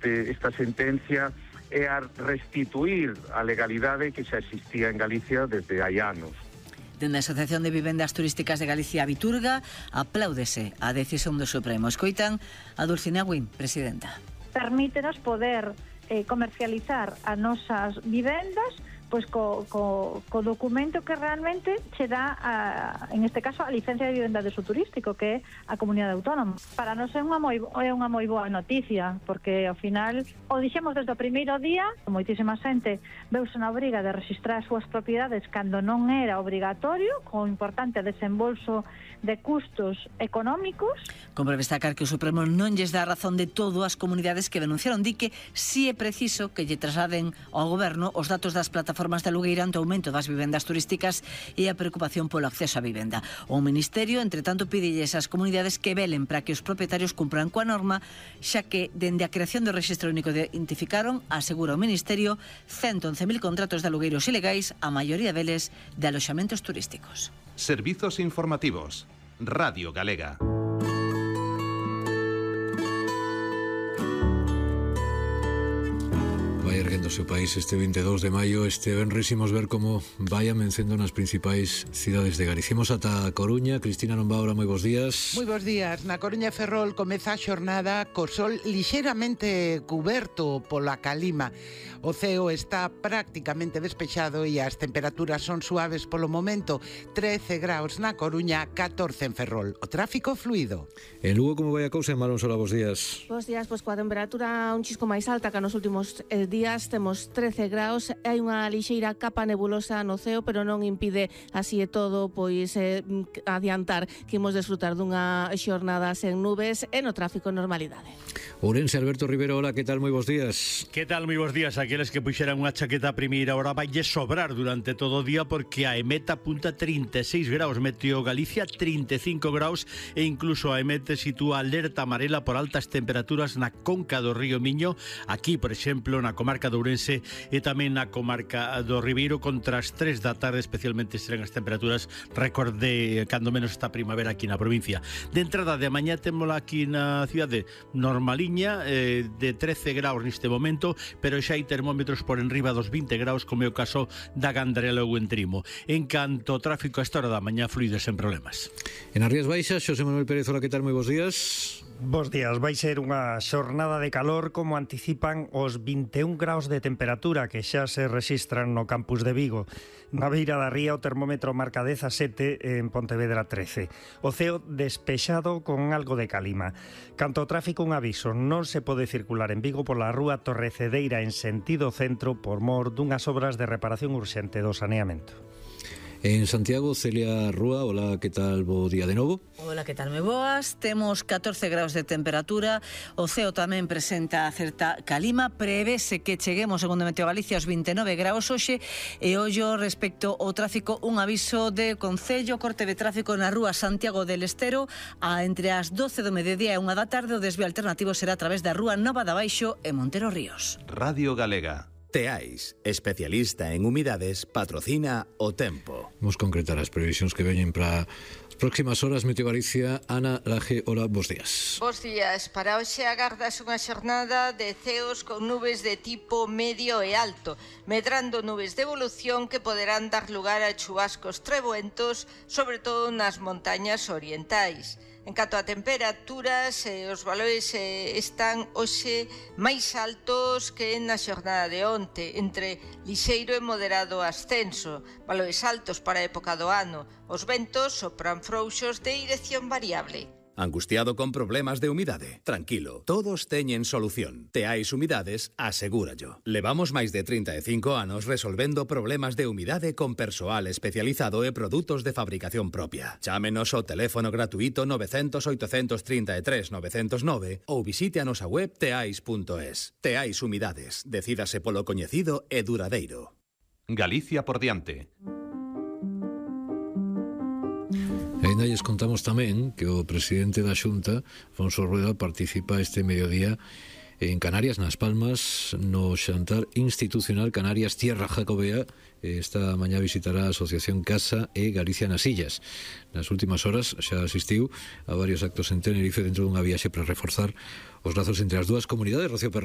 esta sentencia é a restituir a legalidade que xa existía en Galicia desde hai anos. Dende a Asociación de Vivendas Turísticas de Galicia, Viturga, apláudese a decisión do Supremo. Escoitan a Dulcinea Guín, presidenta. Permítenos poder comercializar as nosas vivendas pois co documento que realmente che dá, en este caso, a licencia de vivenda de uso turístico, que é a comunidade autónoma. Para nós é unha moi boa noticia, porque ao final, o dixemos desde o primeiro día, moitísima xente veuse na obriga de registrar as súas propiedades cando non era obrigatorio, co importante desembolso de custos económicos. Compre destacar que o Supremo non lles dá razón de todo as comunidades que denunciaron. Di que si é preciso que lle trasladen ao goberno os datos das plataformas de alugueira ante o aumento das vivendas turísticas e a preocupación polo acceso á vivenda. O Ministerio, entre tanto, pídelles ás comunidades que velen para que os propietarios cumpran coa norma, xa que, dende a creación do Rexistro Único identificaron, asegura o Ministerio, 111.000 contratos de alugueiros ilegais, a maioría deles de aloxamentos turísticos. Servizos informativos. Radio Galega. Vai erguéndose o país este 22 de maio. Este venres imos ver como vai amencendo nas principais cidades de Galicia. Imos ata a Coruña. Cristina Nombaura, moi bons días. Moi bons días. Na Coruña e Ferrol comeza a xornada co sol lixeiramente cuberto pola calima. O ceo está prácticamente despexado e as temperaturas son suaves polo momento. 13 graus na Coruña, 14 en Ferrol. O tráfico fluido. En Lugo, como vai a cousa? En Malonsola, bons días. Bons días, pois coa temperatura un chisco máis alta que nos últimos días, temos 13 graus, hai unha lixeira capa nebulosa no ceo, pero non impide así e todo pois adiantar que imos desfrutar dunha xornada sen nubes e no tráfico normalidade. Ourense, Alberto Rivero, hola, que tal? Moi bons días. Que tal? Moi bons días. Aqueles que puxeran unha chaqueta a primeira hora vai sobrar durante todo o día, porque a EMET apunta 36 graus, Meteo Galicia 35 graus e incluso a EMET sitúa alerta amarela por altas temperaturas na conca do río Miño, aquí, por exemplo, na comarca de Ourense e tamén na comarca do Ribeiro. Contra as 3 da tarde especialmente serán as temperaturas récord de cando menos esta primavera aquí na provincia. De entrada de mañá témola aquí na cidade normaliña, de 13 graus neste momento, pero xa hai termómetros por enriba dos 20 graus, como é o caso da Gandarela ou Entrimo. En canto ao tráfico, a esta hora da mañá fluide sen problemas. En as Rías Baixas, Xosé Manuel Pérez, hola, que tal? Moi bons días. Bos días, vai ser unha xornada de calor, como anticipan os 21 graus de temperatura que xa se rexistran no campus de Vigo. Na beira da ría o termómetro marca 17, en Pontevedra 13. O ceo despexado con algo de calima. Canto ao tráfico, un aviso: non se pode circular en Vigo pola rúa Torrecedeira en sentido centro por mor dunhas obras de reparación urxente do saneamento. En Santiago, Celia Rúa, hola, que tal? Bo día de novo. Hola, que tal? Me boas. Temos 14 graus de temperatura. O ceo tamén presenta certa calima. Prevese que cheguemos, segundo Meteo Galicia, aos 29 graus hoxe. E ollo respecto ao tráfico, un aviso de Concello, corte de tráfico na rúa Santiago del Estero entre as 12 do mediodía e 1 da tarde. O desvío alternativo será a través da rúa Nova da Baixo e Montero Ríos. Radio Galega. Teais, especialista en humidades, patrocina o tempo. Vamos concretar as previsións que veñen para as próximas horas. Meteo Galicia, Ana Laje, hola, bons días. Bos días. Para hoxe agardas unha xornada de ceos con nubes de tipo medio e alto, medrando nubes de evolución que poderán dar lugar a chubascos treboentos, sobre todo nas montañas orientais. En canto a temperaturas, os valores están hoxe máis altos que na xornada de onte, entre lixeiro e moderado ascenso, valores altos para a época do ano. Os ventos sopran frouxos de dirección variable. Angustiado con problemas de humidade? Tranquilo, todos teñen solución. Teais Humidades, asegúrallo. Levamos máis de 35 anos resolvendo problemas de humidade con persoal especializado e produtos de fabricación propia. Chámenos ao teléfono gratuito 900 833 909 ou visite a nosa web teais.es. Teais Humidades, decídase polo coñecido e duradeiro. Galicia por diante. E ainda lles contamos tamén que o presidente da Xunta, Afonso Rueda, participa este mediodía en Canarias, nas Palmas, no xantar institucional Canarias Tierra Jacobea. Esta mañá visitará a Asociación Casa e Galicia nas Illas. Nas últimas horas xa asistiu a varios actos en Tenerife dentro dunha viaxe para reforzar os lazos entre as dúas comunidades. Rocío Pernal.